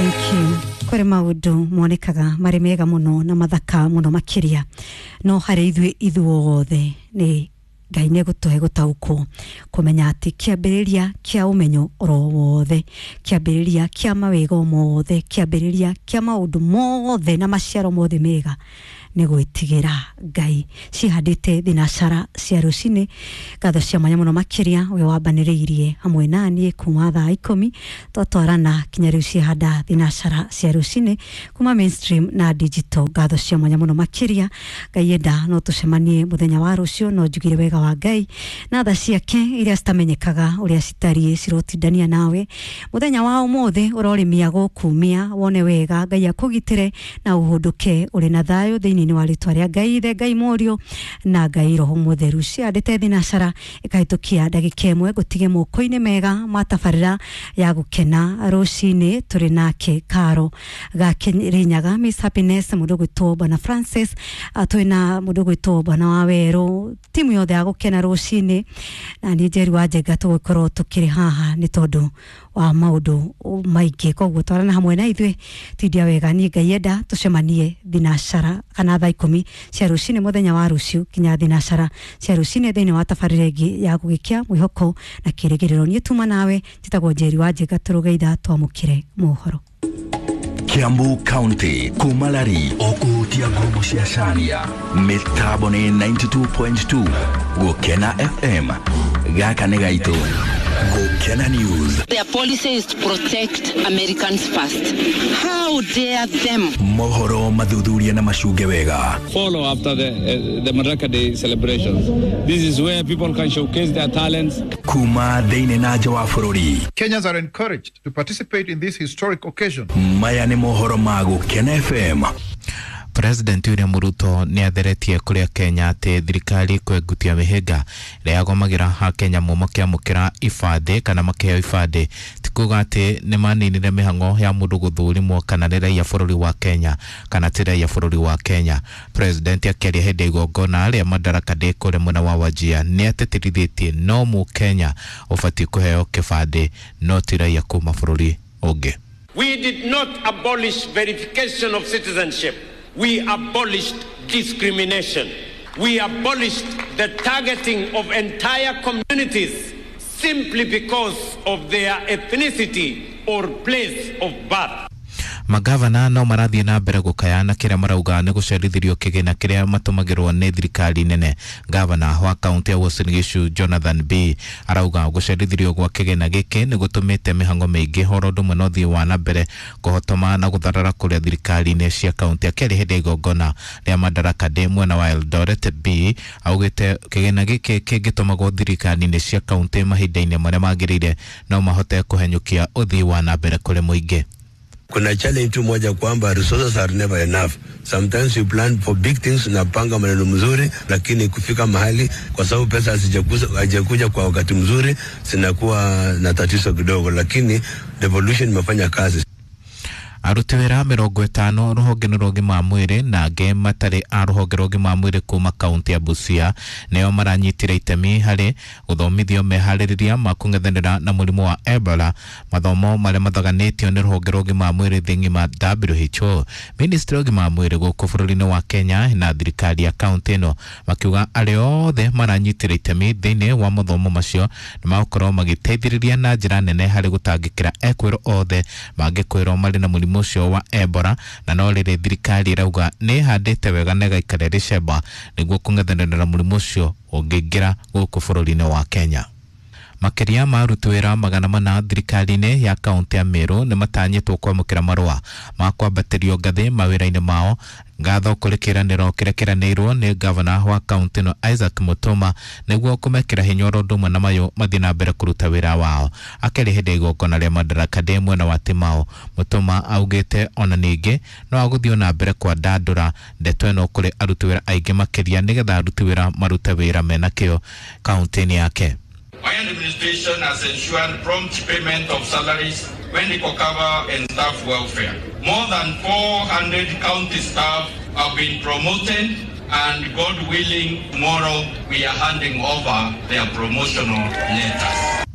Thank you. Kũrĩ maũndũ monekaga marĩ mega mũno na mathaka mũno makĩria, no harĩ ithuĩ ithuothe nĩ Ngai nĩ egũtũhe gũtaũkwo kũmenya atĩ kĩambĩrĩria kĩa ũmenyo oro wothe, kĩambĩrĩria kĩa mawega mothe, kĩambĩrĩria kĩa maũndũ mothe na maciaro mothe mega nĩ gwĩtigĩra Ngai. Cihandĩte thinacara cia rũcinĩ. Ngatho cia mwanya mũno makĩria we wambanĩrĩirie hamwe naniĩ kuma thaa 10 twatwarana kinya rĩu ciahanda thinacara cia rũcinĩ kuma mainstream na digital. Ngatho cia mwanya mũno makĩria. Ngai enda no tũcemanie mũthenya wa rũciũ, no njugire wega wa Ngai na tha ciake iria citamenyekaga ũrĩa citariĩ cirotindania nawe mũthenya wa ũmũthĩ. Ũrorĩmia gũkumia wone wega, Ngai akũgitĩre na ũhũndũke ũrĩ na thayũ thĩinĩ wa rĩtwa rĩa Ngai Ithe, Ngai Mũriũ na Ngai Roho Mũtheru. Ciandĩte thinacara ĩkahĩtũkia ndagĩka 1, ngũtige moko-inĩ mega ma tabarĩra ya gũkena rũcinĩ. Tũrĩ nake Karo Gakĩrĩnyaga, Miss Happiness, mũndũ gwĩtwo Bwana Francis, twĩ na mũndũ gwĩtwo Bwana wa Werũ, timu yothe ya gũkena rũcinĩ, na niĩ Njeri wa Njenga tũgũkorwo tũkĩrĩ haha nĩ tondũ wa maũndũ maingĩ. Koguo twarana hamwe na ithuĩ tindia wega. Niĩ Ngai enda tũcemanie thinacara kana thaa 10 cia rũcinĩ mũthenya wa rũciũ kinya thinacara cia rũcinĩ thĩinĩ wa tabarĩra ĩngĩ ya gũgĩkia mwĩhoko na kĩrĩgĩrĩro. Niĩ tuma nawe njĩtagwo Njeri wa Njenga, tũrũgeitha twamũkĩre mohoro. Kiambu County kumalari okuhutia ngumo cia Caria mĩtambo nĩ 92.2 Gũkena FM. Gaka nĩ gaitũ Gũkena News. Their policy is to protect Americans first. How dare them? Mohoro mathuthuria na macunge wega. Follow after the Madaraka Day celebrations. This is where people can showcase their talents. Kuma thĩinĩ na nja wa bũrũri. Kenyans are encouraged to participate in this historic occasion. Maya nĩ mohoro ma Gũkena FM. President William Ruto nĩ atheretie kũrĩa Kenya atĩ thirikari kwengutia mĩhĩnga ĩrĩa yagomagĩra akenya mo makĩamũkĩra ibandĩ kana makĩheo ibandĩ ti kuga atĩ nĩ maninire mĩhang'o ya mũndũ gũthũrimwo kana nĩ raia bũrũri wa Kenya kana ti raia bũrũri wa Kenya. President akĩaria hĩndĩ ya igongona rĩa Madaraka Day kũrĩa mwena wa Wajir nĩ atĩtĩrithĩtie no mũkenya ũbatiĩ kũheo kĩbandĩ no ti raia kuma bũrũri ũngĩ. We did not abolish verification of citizenship. We abolished discrimination. We abolished the targeting of entire communities simply because of their ethnicity or place of birth. Magavana no marathiĩ na mbere gũkayana kĩrĩa marauga nĩ gũcerithĩrio kĩgĩna kĩrĩa matũmagĩrwo nĩ thirikari nene. Gavana wa kaunti ya Uasin Gishu Jonathan B arauga gũcerithĩrio gwa kĩgĩna gĩkĩ nĩ gũtũmĩte mĩhang'o mĩingĩ horo ũndũ ũmwe na ũthii wa na mbere kũhotoma na gũtharara kũrĩa thirikari-inĩ cia kaunti. Akĩaria hĩndĩ ya igongona rĩa Madaraka Day mwena wa Eldoret, B augĩte kĩgĩna gĩkĩ kĩngĩtũmagwo thirikari-inĩ cia kaunti mahinda-inĩ marĩa magĩrĩire no mahote kũhenyũkia ũthii wa na mbere kũrĩ mũingĩ. Kuna challenge tu moja kwamba resources are never enough. Sometimes you plan for big things, unapanga maneno mzuri, lakini kufika mahali kwa sababu pesa hazijakuja kwa wakati mzuri zinakuwa na tatizo kidogo, lakini devolution imefanya kazi. Aruti wĩra 50 rũhonge rwa ũgima wa mwĩrĩ na angĩ matarĩ a rũhonge rwa ũgima wa mwĩrĩ kuma kaunti ya Busia nĩo maranyitire itemi harĩ gũthomithio meharĩrĩria ma kũng'ethanĩra na mũrimũ wa Ebola, mathomo marĩa mathaganĩtio nĩ rũhonge rwa ũgima wa mwĩrĩ thĩ ng'ima WHO. Ministry ya ũgima wa mwĩrĩ gũkũ bũrũri-inĩ wa Kenya na thirikari ya kaunti ĩno makiuga arĩa othe maranyitire itemi thĩinĩ wa mathomo macio nĩ magũkorwo magĩteithĩrĩria na njĩra nene harĩ gũtangĩkĩra ekwĩrwo othe mangĩkwĩrwo marĩ na mũrimũ ũcio wa Ebola, na no rĩrĩ thirikari ĩrauga nĩ ĩhandĩte wega na ĩgaikara ĩrĩ cemba nĩguo kũng'ethanĩra na mũrimũ ũcio ũngĩingĩra gũkũ bũrũri-inĩ wa Kenya. Makĩria ma aruti wĩra 400 thirikari-inĩ ya kaunti ya Meru nĩ matanyĩtwo kwamũkĩra marũa ma kwambatĩrio ngathĩ mawĩra-inĩ mao. Ngatho kũrĩ kĩĩranĩro kĩrĩa kĩranĩirwo nĩ gavana wa kaunti ĩno Isaac Mutuma nĩguo kũmekĩra hinya oro ũndũ ũmwe na mayũ mathiĩ na mbere kũruta wĩra wao. Akĩaria hĩndĩ ya igongona rĩa Madaraka Day mwena wa Timau, Mutuma augĩte ona ningĩ no agũthiĩ na mbere kwandandũra ndeto ĩno kũrĩ aruti wĩra aingĩ makĩria nĩgetha aruti wĩra marute wĩra mena kĩo kaunti-inĩ yake. My administration has ensured prompt payment of salaries, medical cover and staff welfare. More than 400 county staff have been promoted, and God willing, tomorrow we are handing over their promotional letters.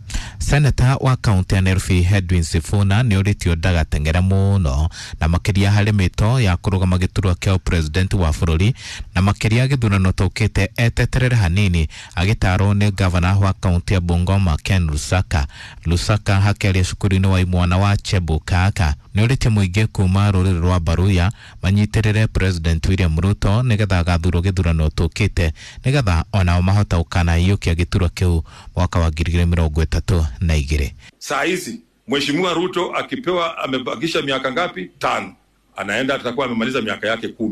Seneta wa kaunti ya Nairobi Edwin Sifuna nĩ ũrĩtio ndagateng'ere mũno na makĩria harĩ mĩto ya kũrũgama gĩturwa kĩa president wa bũrũri na makĩria gĩthurano tũkĩte eteterere hanini agĩtarwo nĩ gavana wa kaunti ya Bungoma Ken Lusaka. Lusaka hakĩaria cukuru-inĩ wa imwana wa Chebukaka nĩ ũrĩtie mũingĩ kuma rũrĩrĩ rwa Baruya manyitĩrĩre President William Ruto nĩgetha agathurwo gĩthurano tũkĩte nĩgetha onao mahota gũkanaiyũkia gĩturwa kĩu mwaka wa 2032. Saa hizi Mheshimiwa Ruto akipewa, amebakisha miaka ngapi? 5. Anaenda atakuwa amemaliza miaka yake 10.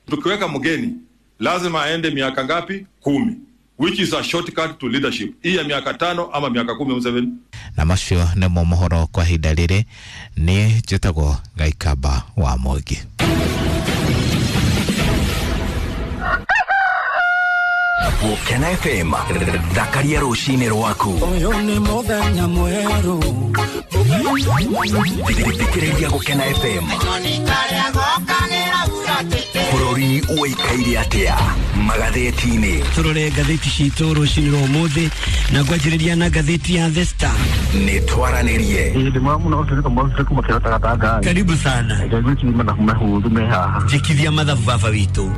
Tukiweka mgeni lazima aende miaka ngapi? 10, which is a shortcut to leadership. Hii ya miaka 5 ama miaka 10 Museveni. Na macio nĩmo mohoro kwa ihinda rĩrĩ. Niĩ njĩtagwo Gaikamba wa Mwangi. Gũkena FM, thakaria rũcinĩ rwaku. Ũyũ nĩ mũthenya mwerũ. Thikĩrĩria Gũkena FM. Bũrũri ũikaire atĩa magathĩti-inĩ? Tũrore ngathĩti citũ rũcinĩ rwa ũmũthĩ na ngwanjĩrĩria na ngathĩti ya The Star. Nĩ twaranĩrie. Karibu sana. Njĩkithia mathabu baba witũ.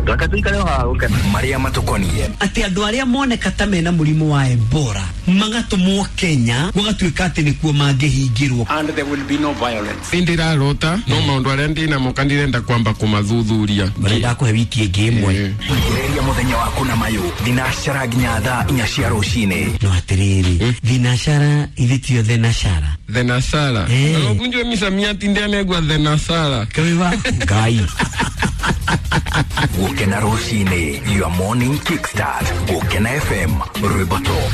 Marĩa matũkoniĩ. Atĩ andũ arĩa moneka ta mena mũrimũ wa Ebola magatũmwo Kenya gũgatuĩka atĩ nĩkuo mangĩhingĩrwo. And there will be no violence. Ndirarota no maũndũ arĩa ndĩnamo kandirenda kwamba kũmathuthuria. Marenda kũhe wiki ĩngĩ ĩmwe. Thikĩrĩria mũthenya waku na mayũ thinacara nginya thaa 4 cia rũcinĩ. No atĩrĩrĩ, thinacara ithe tio thenashara. Thenashara. Ũkunjwe misamiati ndianegwa thenashara. Kaiwa Ngai. Gũkena rũcinĩ, your morning kickstart. Gũkena FM, rwĩmbo top.